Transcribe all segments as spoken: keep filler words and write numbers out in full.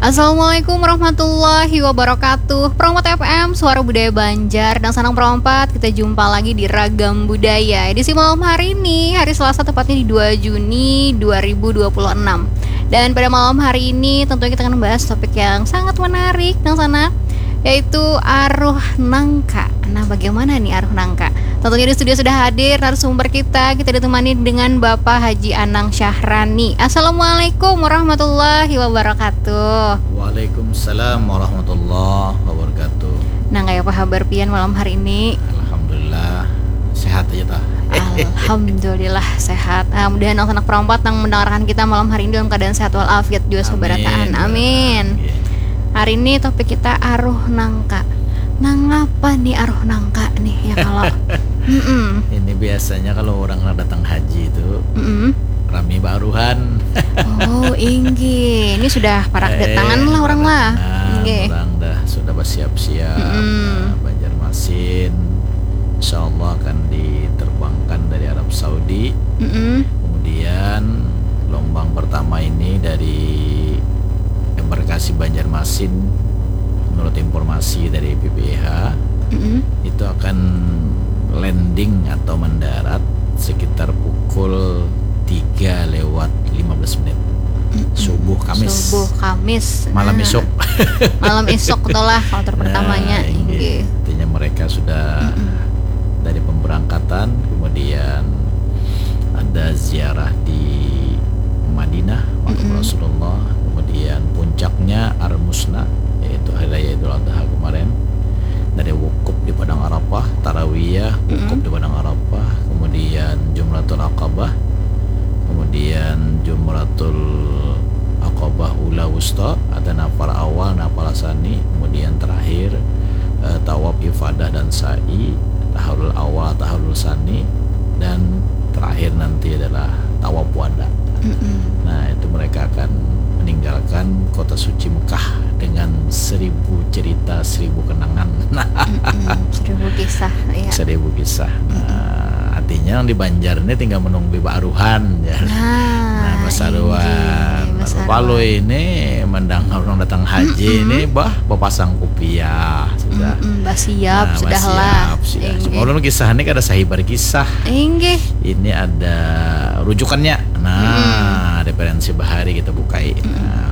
Assalamualaikum warahmatullahi wabarakatuh. Perompat F M, Suara Budaya Banjar. Dan sanang perompat, kita jumpa lagi di Ragam Budaya. Edisi malam hari ini, hari Selasa, tepatnya di dua Juni dua ribu dua puluh enam. Dan pada malam hari ini, tentunya kita akan membahas topik yang sangat menarik, dan sana, yaitu aruh nangka. Nah, bagaimana nih aruh nangka? Tentunya di studio sudah hadir narasumber kita. Kita ditemani dengan Bapak Haji Anang Syahrani. Assalamualaikum warahmatullahi wabarakatuh. Waalaikumsalam warahmatullahi wabarakatuh. Nah, kayak apa kabar pian malam hari ini? Alhamdulillah, sehat aja tah. Alhamdulillah sehat. Ah, mudahan anak perompat yang mendengarkan kita malam hari ini dalam keadaan sehat walafiat juga seberataan. Amin. Amin. Hari ini topik kita aruh nangka. Nangapa nih aruh nangka nih ya kalau? Mm-mm. Ini biasanya kalau orang nak datang haji itu Mm-mm. rami baruhan. Oh, inggih. Ini sudah parak Eh, datangan lah orang parak lah. Datangan, inggih. Orang dah sudah bersiap-siap. Mm-mm. Nah, Banjarmasin, insya Allah akan diterbangkan dari Arab Saudi. Mm-mm. Kemudian gelombang pertama ini dari embarkasi Banjarmasin, menurut informasi dari P P I H, Mm-mm. itu akan landing atau mendarat sekitar pukul tiga lewat lima belas menit. Mm-mm. Subuh Kamis. Subuh Kamis. Malam Nah. isuk. Malam isuk tuh lah kloter Nah, pertamanya. Inggih. Inggih. Artinya mereka sudah Mm-mm. dari pemberangkatan, kemudian ada ziarah di Madinah, makam Mm-mm. Rasulullah, kemudian puncaknya Al-Musna, yaitu Hari Raya Idul Adha kemarin. Dari wukuf di Padang Arafah, tarawiyah, wukuf Mm-mm. di Padang Arafah, kemudian Jumratul Aqabah, kemudian Jumratul Aqabah Ula Wusta, ada nafar awal, nafar sani, kemudian terakhir, eh, tawaf ifadah dan sa'i, tahallul awal, tahallul sani, dan terakhir nanti adalah tawaf wada. Mm-mm. Nah, itu mereka akan meninggalkan kota suci Mekah dengan seribu cerita, seribu kenangan. Mm-mm. Seribu kisah, ya. Seribu kisah. Mm-mm. Nah, artinya yang di Banjar ini tinggal menunggu baruhan, ya. Nah, Nah, basaruan. Inggih, basaruan. Palui ini mendengar orang datang haji Mm-mm. ini, bah, bapasang kupiah sudah. Mm-mm, basiap Nah, sudah lah. Basiap sudah. Inggih. Cuma ulun kisah ini kada sahibar kisah. Inggih. Ini ada rujukannya. Nah, Mm-mm. referensi bahari kita bukai. Mm-mm. Nah,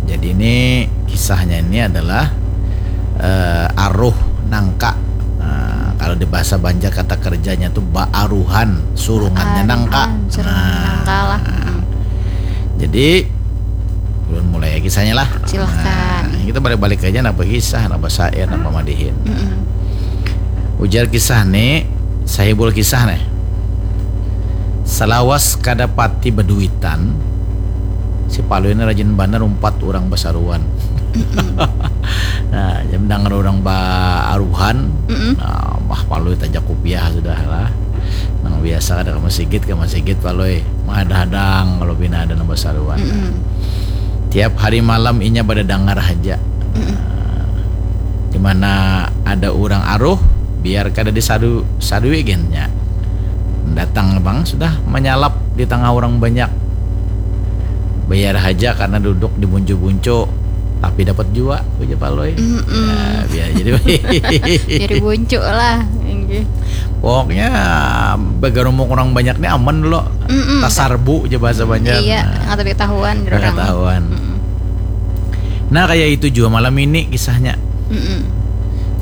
jadi ini kisahnya ini adalah, eh, aruh nangka. Nah, kalau di bahasa Banjar kata kerjanya tuh baaruhan, surungannya Baaruhan, nangka. Surungan Nah, nangka lah. Mm-mm. Jadi, ulun mulai ya kisahnya lah. Silahkan. Nah, kita balik-balik aja napa kisah, napa syair, napa madihin. Mm-mm. Ujar kisah nih, sahibul kisah nih. Salawas kada pati baduitan, si Palui ini rajin banar umpat urang basaruan. Mm-mm. Nah, jadi mendangar urang baaruhan, Mm-mm. nah, bah Palui tajak kupiah sudah lah. Nang biasa kada ka masigit, ka masigit Palui. Menghadang-hadang kalau pina ada nang basaruan. Mm-mm. Tiap hari malam inya badadangar haja. Mm-mm. Nah, di mana ada urang aruh, biar kada disadu-, sadui gennya. Datang bang sudah manyalap di tangah urang banyak. Bayar haja karena duduk di buncu-buncu, tapi dapat jua, ujar Palui. Mm-mm. Ya, biar jadi Jadi buncu lah. Inggih. Pokoknya bagarumuk urang banyak ni aman dulu. Mm-mm. Tasarbu ja bahasa Banjar. Iya, nah. Kada tahuan, kada tahuan. Mm-mm. Nah, kaya itu jua malam ini kisahnya. Mm-mm.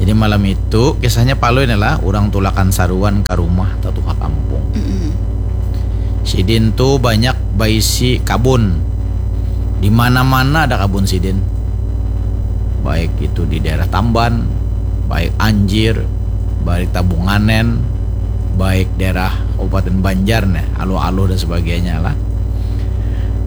Jadi malam itu kisahnya Palui ni lah urang tulakan saruan ka rumah tatuha kampung. Mm-mm. Sidin tu banyak baisi kabun. Di mana-mana ada kabun sidin. Baik itu di daerah Tamban, baik Anjir, baik Tabunganen, baik daerah Kabupaten Banjar nih, Aluh-Aluh dan sebagainya lah.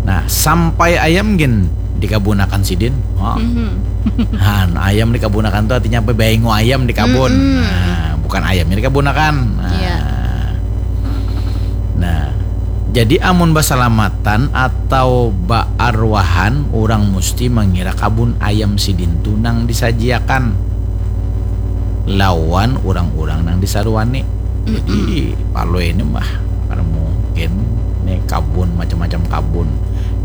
Nah, sampai ayam gin dikabunakan sidin. Oh. Mhm. Han, ayam dikabunakan tuh artinya apa? Baingu ayam di kabun. Mm-mm. Nah, bukan ayamnya dikabunakan. Nah. Iya. Nah, jadi amun basalamatan atau baarwahan, urang musti mangira kabun ayam sidin tu nang disajiakan lawan urang-urang nang disaruani. Jadi, mm-mm, Palui ini mah, kada mungkin nih kabun, macam-macam kabun.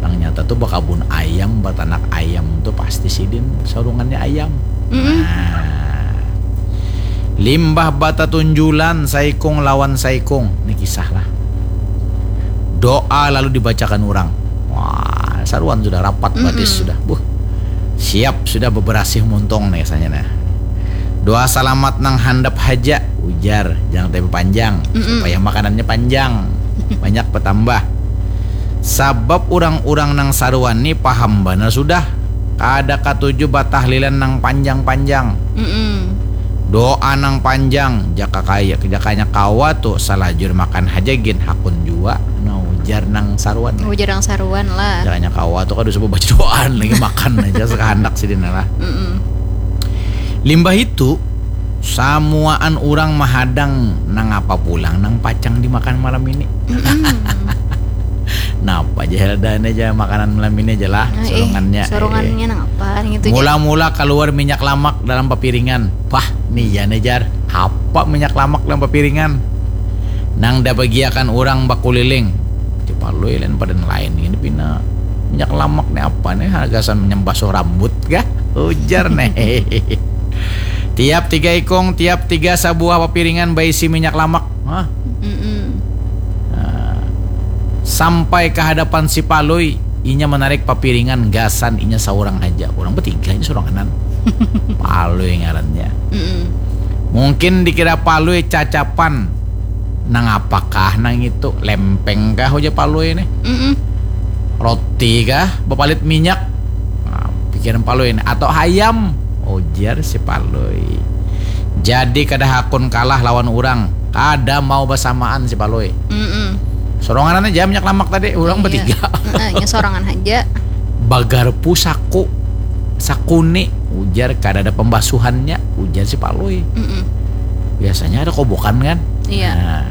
Nang nyata tu bakabun ayam, batanak ayam tu pasti sidin sarungannya ayam. Mm-mm. Nah, limbah batatunjulan saikung lawan saikung, ni kisah lah. Doa lalu dibacakan urang. Wah, saruan sudah rapat batis. Mm-mm. Sudah. Buh. Siap sudah beberasih muntung nih rasanya nah. Doa salamat nang handap haja, ujar, jangan tapi panjang, mm-mm, supaya makanannya panjang, banyak bertambah. Sabab urang-urang nang saruan ni paham banar sudah, kada katuju batahlilan nang panjang-panjang. Mm-mm. Doa nang panjang, jaka kaya, jakanya kawa tu salajur makan haja gin hakun jua, nah ujar nang saruan. Ujar nang saruan lah. Jakanya kawa tu kada usah babaca doaan lagi, makan aja sakahandak sidin lah. Mm-mm. Limbah itu, samuaan urang mahadang nangapa pulang nang pacang dimakan malam ini. Mm-mm. Napa aja hela dah ini aja makanan malam ini aja lah, ah, eh, surungannya, surungannya eh, nang apa gitu, mula-mula keluar minyak lamak dalam papiringan. Pah, nih ya nih jar, apa minyak lamak dalam papiringan? Nang dah bagiakan urang bakuliling. Di Palui lain pada lain ini pina minyak lamak nih apa nih, hargasan menyembasuh rambut kah? Ujar nih. Tiap tiga ikung, tiap tiga sabuah papiringan baisi minyak lamak. Hah? Mm-mm. Nah, sampai ke hadapan si Palui, inya menarik papiringan gasan inya seorang aja. Orang bertiga ini seorang kanan. Palui ngarannya. Mm-mm. Mungkin dikira Palui cacapan. Nang apakah nang itu? Lempeng kah ujar Palui ini? Mm-mm. Roti kah? Bepalit minyak. Nah, pikiran Palui ini. Atau hayam? Ujar si Palui. Jadi kada hakun kalah lawan urang. Kada mau basamaan si Palui. Mm-mm. Soronganan aja minyak lamak tadi, urang, iya, bertiga. Nah, nya sorangan aja. Bagarpu saku, sakuni, ujar kada ada pembasuhannya, ujar si Palui. Mm-mm. Biasanya ada kobokan kan? Iya. Nah,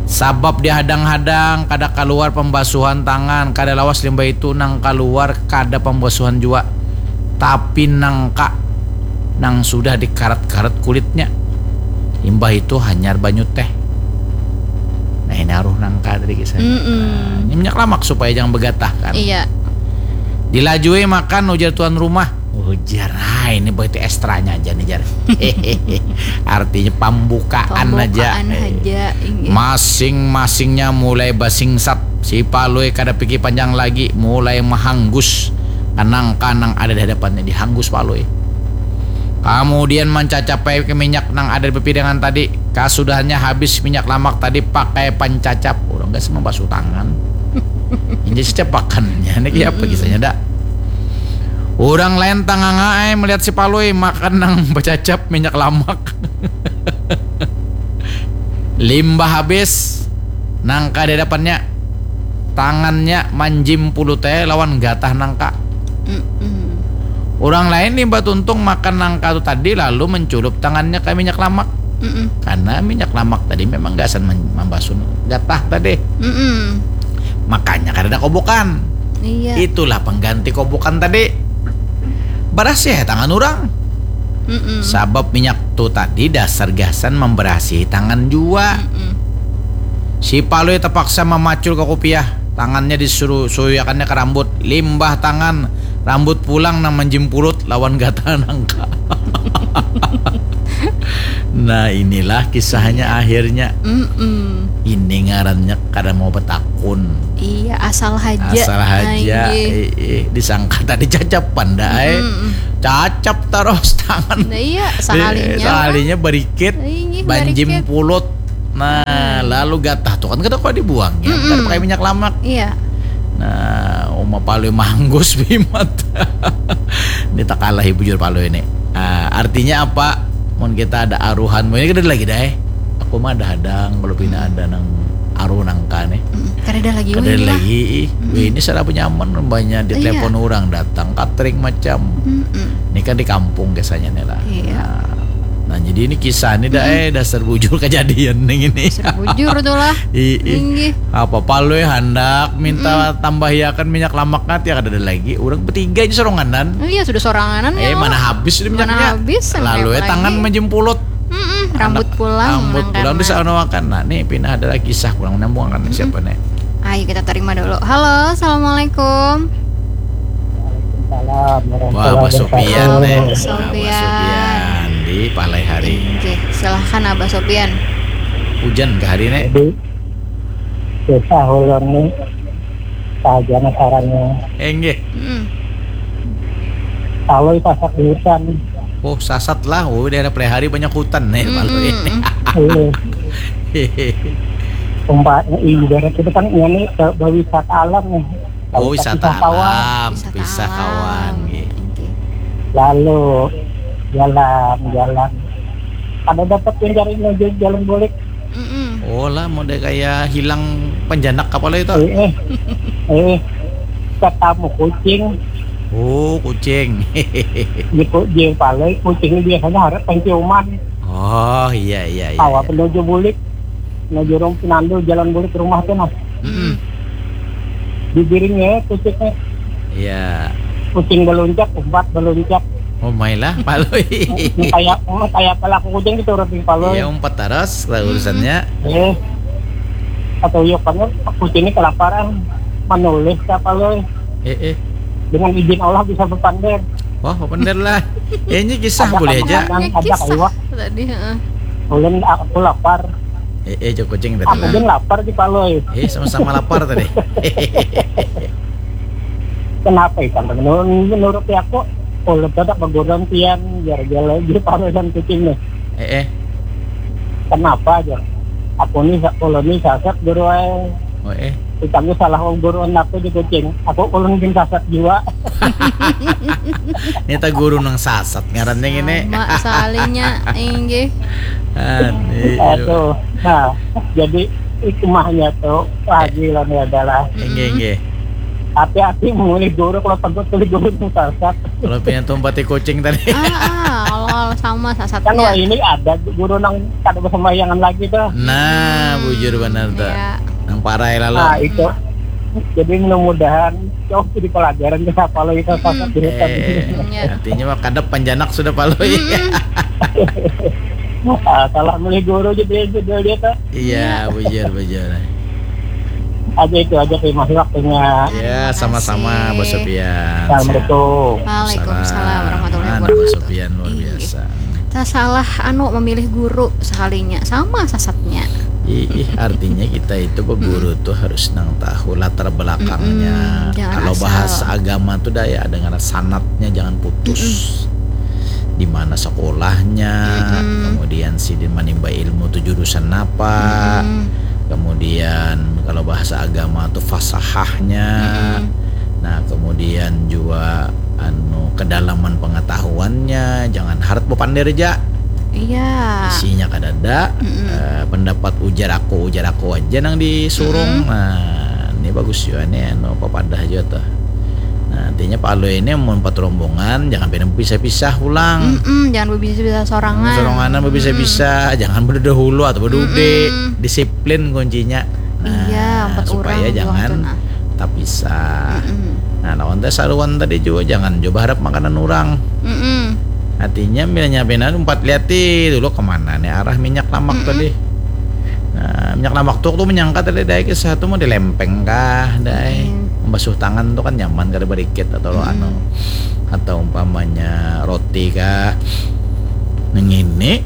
sabab dihadang-hadang, kada kaluar pembasuhan tangan, kada lawas limbah itu nang kaluar kada pembasuhan jua. Tapi nangka nang sudah dikarat-karat kulitnya. Imbah itu hanyar banyu teh. Nah, ini aruh nangka tadi kisahnya. Mm-mm. Nah, ini minyak lamak supaya jangan begatah kan. Iya. Dilajui makan ujar tuan rumah. Ujar, ah ini berarti ekstranya aja nih jar. Artinya pembukaan aja. Pembukaan aja, inggih. Masing-masingnya mulai basingsat. Si Palui kada pikir panjang lagi, mulai mahanggus kanang-kanang ada di hadapannya, dihanggus Palui. Kemudian mencacap ai ke minyak nang ada di pipiringan tadi. Kasudahannya habis minyak lamak tadi pakai pancacap. Orang gak membasuh tangan. Ini cacapakannya, ini apa kisahnya dak? Orang lain tanganga ai melihat si Palui makan nang bacacap minyak lamak. Limbah habis nangka di hadapannya, tangannya manjimpulut ai lawan gatah nangka. Mm-mm. Urang lain limbah tuntung makan nangka tu tadi lalu menculup tangannya ka minyak lamak. Mm-mm. Karena minyak lamak tadi memang gasan men-, mambasun gatah tadi. Mm-mm. Makanya kadada kobokan. Iya. Itulah pengganti kobokan tadi. Barasih ai tangan urang. Mm-mm. Sabab minyak tu tadi dasar gasan memberasihi tangan jua. Mm-mm. Si Palui terpaksa memacul ke kupiah. Tangannya disuruh suyuyakannya ke rambut. Limbah tangan, rambut pulang nang menjimpulut lawan gatal nangka. Nah, inilah kisahnya akhirnya. Mm-mm. Ini ngarannya kada mau betakun. Iya, asal haja. Asal haja. Inggih. Eh, eh, disangka tadi cacapan dah, eh. Mm-mm. Cacap taros tangan. Nah, iya, sahalinya. Eh, sahalinya barikit, inggih, banjim barikit. Pulut. Nah, hmm. Lalu gatah tuh kan kada kau dibuang ya, mm-mm. Kada pakai minyak lamak. Iya. Nah, uma Palui manggus bimat. Ini tak kalah ibu jur Palui ini. Ah, artinya apa? Mun kita ada aruhan, mun ini kada lagi dah. Aku mah ada hadang kalau pina ada nang aruh nangka nih. Mm-mm. Kada ada lagi. Kada ada lagi. Ih. Mm-mm. Wih, ini saraba nyaman banyak di telepon orang datang catering macam. Mm-mm. Ini kan di kampung kisahnya nih lah. Iya. Nah, nah, jadi ini kisah nih dah, mm-mm. Eh, dasar bujur kejadian nih ini. Dasar bujur tuh lah. Ih, ih. Inggih. Apa Palui handak minta, mm-mm, tambahiakan minyak lamaknya, tiada ada lagi. Orang bertiga aja soranganan. Iya, sudah soranganan. Eh, ya, mana habis sudah minyaknya. Mana habis, lalu ya tangan menjempulut. Mm-mm, rambut pulang, rambut pulang di sana makan. Nah, nih pina ada lagi kisah pulang nyambung akan siapa nih? Ayo kita terima dulu. Halo, assalamualaikum. Wah, Abah Sopian, eh. Abah Sopian. Abah Sopian di Palai Hari. Oke, silahkan Abah Sopian. Hujan kah hari ini? Jadi, susah ulun ni. Saja sarannya. Enggih. Hmm. Kalau sasak di hutan. Oh, sasat lah. Oh, daerah Palai Hari banyak hutan nih, hmm, Palui. Hmm. Iya. Umpamanya ibarat itu kan ini ke berwisata alam nih. Oh, wisata alam, wisata kawan, nggih. Lalu jalan-jalan. Kada dapat mencari menuju jalan balik. Mm-mm. Oh lah, model kayak hilang penjanak kapal itu. Eh, eh. Eh, ketemu kucing. Oh, kucing. Di ku-, di balai kucing biasanya harap penciuman. Oh, iya, iya, iya. Awak menuju bulik. Menuju rum-, nandu jalan bulik rumah tuh, nah. Mm-mm. Digiringnya kucingnya. Iya. Kucing beluncak, umpat beluncak. Oh, mailah, Palui. Kayak, kayak pelaku kucing gitu, orang Palui. Iya, umpat taras lah urusannya. Eh. Atau iya kan, kucing ini kelaparan, menulis ke Palui. Eh, eh. Dengan izin Allah bisa berpander. Wah, berpander lah. Ya, ini kisah boleh aja. Ada kisah tadi, heeh. Ulun, aku lapar. Eh, eh, Joko Cing tadi. Aku pun lapar di Palui. Eh, sama-sama lapar tadi. Kenapa ikan? Menurut, menurut aku, ulun kada keguruan pian, gara-gara di Palui dan kucing nih. Eh, eh. Kenapa aja? Aku nih, sa-, ulun nih sasat guru ai. Oh, eh. Ditangguh salah wong guru anak tuh di kucing. Aku ulun gin sasat jua. Ini tak guru nang sasat ngarannya ini. Sama sekalinya, inggih. Aduh. Nah, jadi hikmahnya tuh, Pak Haji, ini adalah inggih, inggih. Hati-hati memilih guru kalau takut pilih guru nang sasat. Kalau punya tumpati kucing tadi. Ah, ah, kalau, kalau sama sasatnya. Kan wah ini ada guru nang kada bersembayangan lagi tuh. Nah, hmm, bujur benar tuh. Iya. Nang parai lalu. Nah, itu. Jadi mudah-mudahan jauh jadi pelajaran ke siapa lagi kalau sasat di hutan. Eh, iya. Artinya mah kadap panjanak sudah Palui. Mm-mm. Ah, salah milih guru jadi judul dia tuh. Iya, bujur, bujur. Aja itu aja, terima kasih waktunya. Ya, sama-sama, Bos Sofian. Assalamualaikum. Waalaikumsalam warahmatullahi wabarakatuh. Bos Sofian luar biasa. Tak salah anu memilih guru sekalinya, sama sasatnya. Ih, artinya kita itu beguru tuh harus nang tahu latar belakangnya. Mm-mm, jangan asal. Kalau bahasa agama tuh daya ada ngaran sanatnya, jangan putus. Mm-mm. Di mana sekolahnya, mm-mm, kemudian sidin manimba ilmu tuh jurusan apa, mm-mm, kemudian kalau bahasa agama tuh fasahahnya, mm-mm, nah, kemudian juga anu kedalaman pengetahuannya, jangan harat bepander aja. Iya. Isinya kadada, mm-mm, eh, pendapat ujar aku, ujar aku aja nang disurung. Mm-mm. Nah, ini bagus juga nih, anu, papadah juga tuh. Nah, artinya Palui ini mun empat rombongan, jangan pina bepisah-pisah pulang. Mm-mm, jangan bepisah-pisah sorangan. Soranganan bepisah-pisah, mm-mm, jangan berdahulu atau berdude. Mm-mm. Disiplin kuncinya. Nah, iya, empat supaya orang jangan tuh, nah, tapisah. Mm-mm. Nah, lawan teh saruan tadi juga jangan coba harap makanan orang. Mm-mm. Artinya, milanya pina empat liati dulu kemana nih arah minyak lamak, mm-mm, tadi. Nah, minyak lamak tuh, tuh menyangka tadi daya kisah tuh mau dilempeng kah, daya. Mm. Membasuh tangan tuh kan nyaman kada berikit atau lo, mm-mm, anu. Atau umpamanya roti kah. Nang ini,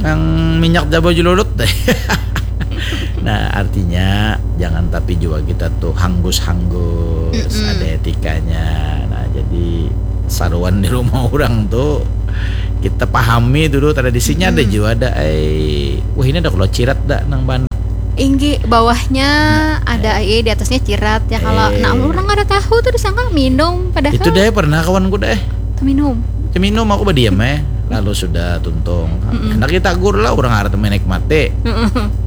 nang minyak jaba jululut deh. Nah, artinya jangan tapi jua kita tuh hanggus-hanggus, mm-mm, ada etikanya. Nah, jadi saruan di rumah orang tuh kita pahami dulu tradisinya, mm-mm, ada jua ada ai. Wah, ini ada kalau cirat dah nang ban. Inggi, bawahnya, nah, ada ai, di atasnya cirat ya kalau. Eh. Nah, orang ada tahu tuh disangka minum padahal. Itu deh pernah kawanku deh. Tuh minum. Tuh minum aku berdiam eh. Lalu sudah tuntung. Mm-mm. Hendak kita gur lah orang arah menikmati. Mm-mm.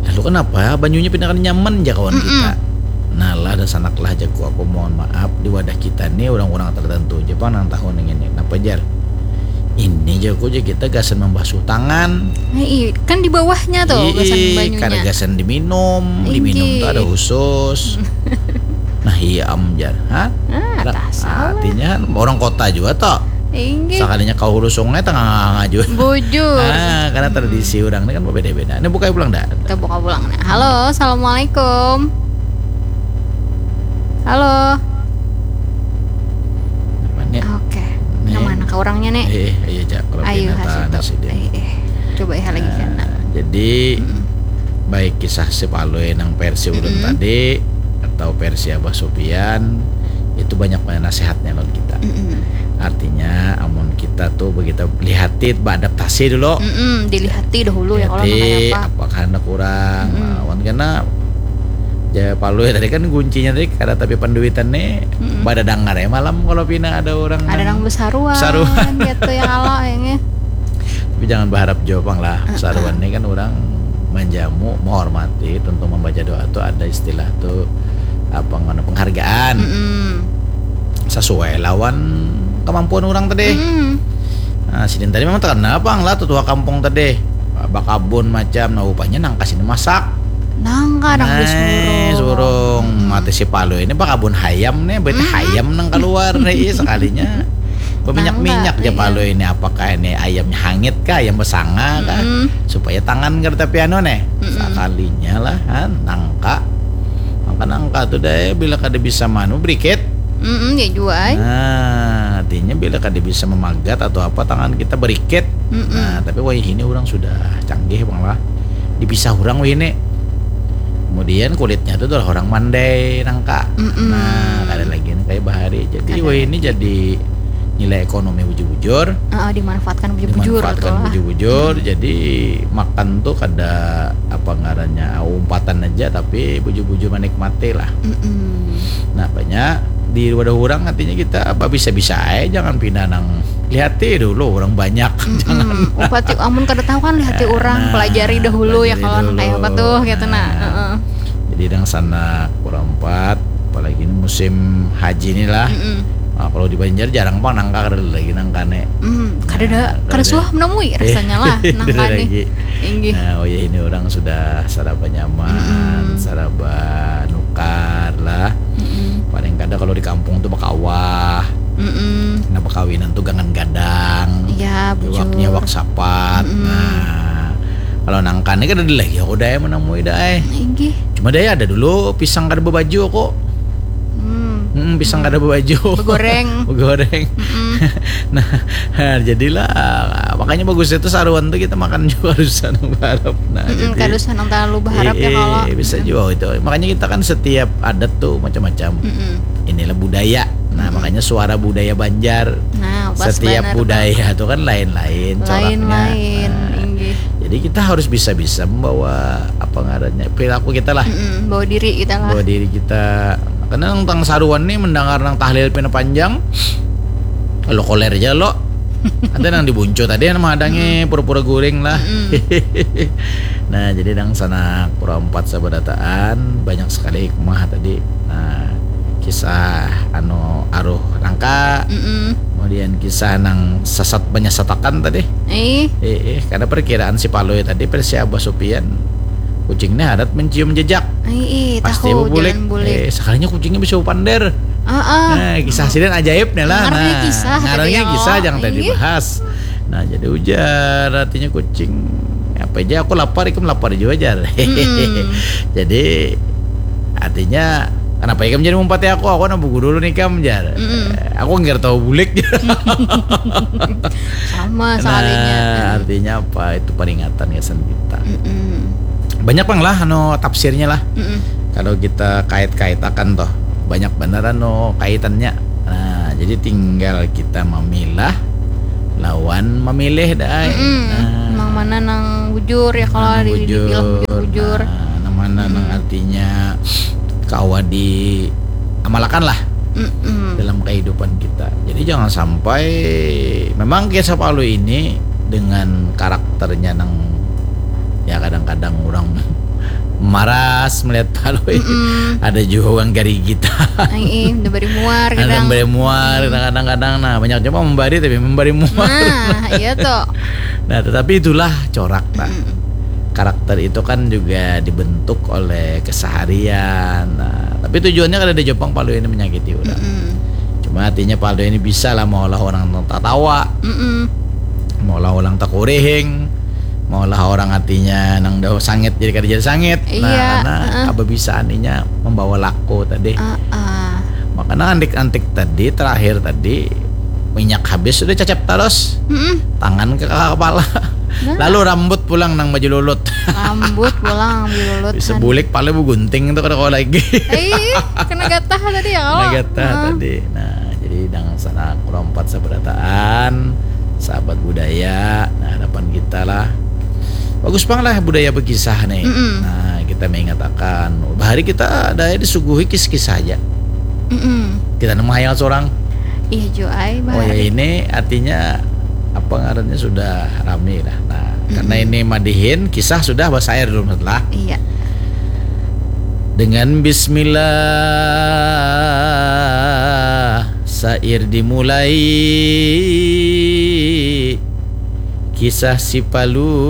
Lalu kenapa banyunya pina kada nyaman ja kawan, mm-mm, kita? Nah lah dan sanak lah jaku aku mohon maaf di wadah kita nih orang-orang tertentu aja pang nang tahu nih ini. Kenapa jar? Ini jaku aja kita gasan membasuh tangan. Nah, iya, kan di bawahnya tuh gasan banyunya. Kada gasan diminum, diminum tuh ada khusus. Nah, iya am jar, ha? Ah, artinya orang kota juga toh. Inggih. Sakalinya kau hulu sungai tengah-tengah juga. Bujur. Nah, karena tradisi orang ini kan berbeda-beda. Ini buka pulang dah. Kita buka pulang nah. Halo, assalamualaikum. Halo. Orangnya nih. Eh, eh, iya, Jak. Kalau Ayu, pina khas tanya itu. Sih dia. Eh, eh. Coba ya lagi. Nah, kena. Jadi, mm-mm, baik kisah si Palui nang versi ulun, mm-mm, tadi atau versi Abah Supian, itu banyak banget nasihatnya lawan kita. Mm-mm. Artinya, amun kita tuh begitu lihati, beadaptasi dulu. Mm-mm, dilihati dahulu ya, kalau lihati, nang kaya apa. Apakah ada kurang? Mm-mm. Nah, wan kena Ja Palui tadi kan kuncinya tadi kada tapi panduitan nih, mm-mm, pada dangar ya malam kalau pina ada orang ada nang besaruan, besaruan gitu ya kalau kayaknya. Tapi jangan berharap jua pang lah, uh-uh, besaruan nih kan orang manjamu, menghormati, tentu membaca doa tuh ada istilah tuh apa, ngana penghargaan. Mm-mm. Sesuai lawan kemampuan orang tadi. Mm-mm. Nah, sidin tadi memang terkenal pang lah tuh tua kampung tadi. Bakabun macam, nah upahnya nangka sini masak. Nangka nang di surung. Surung. Hmm. Mati si Palui ini bakabun hayam nih, berarti, hmm, hayam nang keluar nih, iya, sekalinya. Berminyak-minyak ja Palui ini, apakah ini ayamnya hangit kah, ayam besanga kah? Hmm. Supaya tangan kada tapi anu nih. Hmm. Sekalinya lah, ha, nangka. Maka nangka tuh deh, bila kada bisa manu, berikit. Mm-mm, ya jua ai. Nah, artinya bila kada bisa memagat atau apa, tangan kita berikit. Mm-mm. Nah, tapi wayah ini orang sudah canggih pang lah. Dipisah orang wayah ini. Kemudian kulitnya itu adalah orang mandai nangka. Mm-mm. Nah, kada lagi nih kayak bahari. Jadi wayah ini jadi nilai ekonomi bujur-bujur. Heeh, dimanfaatkan bujur-bujur. Dimanfaatkan bujur-bujur. Hmm. Jadi makan tuh kada apa ngarannya, umpatan aja, tapi bujur-bujur menikmati lah. Mm-mm. Nah, banyak di wadah orang, artinya kita babisa-bisa aja, jangan pina nang lihati dulu orang banyak. Mm-mm. Jangan. Upati, amun kada tahu kan lihati orang, nah, pelajari dahulu ya, pelajari kalau nang dulu. Kayak apa tuh, gitu, nah. Nah. Heeh. Jadi nang sanak kurang empat, apalagi ini musim haji nih lah. Mm-mm. Nah, kalau di Banjar jarang pang nangka, kada lagi nangka nih. Mm, kada ada, nah, kada suah menemui rasanya lah, nangka nih. Inggih. Nah, oh ya, ini orang sudah saraba nyaman, mm-mm, saraba nukar lah. Mm-mm. Paling kada kalau di kampung tuh bakawah. Mm-mm. Nah, bakawinan tuh gangan gadang. Iya, bujur. Iwaknya iwak sapat. Mm-mm. Nah, kalau nangka nih kada ada lagi aku daya menemui daya. Inggih. Cuma daya ada dulu pisang kada berbaju aku. Hmm. Hmm, pisang kada berbaju. Begoreng. Begoreng. Mm-mm. Nah, jadilah makanya bagusnya tuh saruan tuh kita makan juga kada usah nang berharap. Nah, mm-mm, jadi kada usah nang terlalu berharap ya, eh, kalau bisa juga itu. Makanya kita kan setiap adat tuh macam-macam. Mm-mm. Inilah budaya. Nah, mm-mm, makanya suara budaya Banjar. Nah, pas setiap banar budaya tuh kan lain-lain coraknya. Lain-lain, nah, inggih. Jadi kita harus bisa-bisa membawa apa ngarannya, perilaku kita lah. Mm-mm, bawa diri kita lah. Bawa diri kita. Karena nang tang saruan nih mendengar nang tahlil pina panjang, lo koler aja lo. Ada nang dibuncu tadi yang menghadangi, mm-mm, pura-pura guring lah. Mm-mm. Nah, jadi nang sanak pura empat sabarataan, banyak sekali hikmah tadi. Nah, kisah anu aruh nangka, mm-mm, kemudian kisah nang sasat menyesatakan tadi. Eh. Eh, eh, karena perkiraan si Palui tadi versi Abah Supian, kucing ini harat mencium jejak. Eh, eh, pasti tahu, bebulik. Jalan bulik. Eh, sekalinya kucingnya bisa bepander. Ah, ah. Nah, kisah sidin ajaibnya lah. Ngarannya, nah, kisah, ngarannya tadi, kisah, oh, jangan tadi, iya, dibahas. Nah, jadi ujar artinya kucing. Apa aja aku lapar, ikam lapar juga, jar. Mm-mm. Jadi artinya kenapa ikam jadi mumpati aku? Aku nang bugu dulu nih kam, jar. Mm-mm. Eh, aku nggak tahu bulik. Sama sekalinya. Nah, artinya apa? Itu peringatan ya, sen kita. Mm-mm. Banyak pang lah anu tafsirnya lah. Mm-mm. Kalau kita kait-kaitakan toh, banyak bener anu kaitannya. Nah, jadi tinggal kita memilah lawan memilih dah. Mm-mm. Nah, nang mana nang bujur ya, kalau nang di, bujur, dibilang bujur-bujur. Nah, nang mana nang, mm-mm, artinya kawa diamalakan lah, mm-mm, dalam kehidupan kita. Jadi jangan sampai memang kisah Palui ini dengan karakternya nang ya kadang-kadang orang maras melihat Palui. Mm-mm. Ada juga orang garigi kita. Ai, eh, udah bari muar. Ada kadang bari muar, mm, kadang-kadang. Nah, banyak juga membari tapi membari muar. Nah, iya tuh. Nah, tetapi itulah corak, nah. Mm-mm. Karakter itu kan juga dibentuk oleh keseharian. Nah, tapi tujuannya kada ada jopang Palui ini menyakiti orang. Mm-mm. Cuma artinya Palui ini bisa lah maulah orang tatawa. Mm-mm. Maulah orang takurihing. Maulah orang artinya nang dah sangit jadi kada jadi sangit. Nah, iya, karena, heeh, kebabisaan inya membawa laku tadi. Heeh. Makanya antik-antik tadi, terakhir tadi, Minyak habis sudah cacap taros. Mm-mm. Tangan ke kepala. Nah. Lalu rambut pulang nang baju lulut. Rambut pulang ambil lulut. Bisa Han. Bulik pala begunting tuh kada kawa lagi. Eh, kena gatah tadi ya kalau. Nah, gatah tadi. Nah, jadi dang sanak kurang empat sabarataan, sahabat budaya. Nah, harapan kita lah. Bagus pang lah budaya berkisah nih. Mm-mm. Nah, kita mengatakan bahari kita ada disuguhi kisah-kisah aja. Mm-mm. Kita nemu hayal seorang. Iya jo ai Oh ya, bahari. Ini artinya apa ngarannya sudah rame lah. Nah, karena ini madihin kisah sudah basair dulu lah. Iya. Dengan bismillah sair dimulai. Kisah si Palu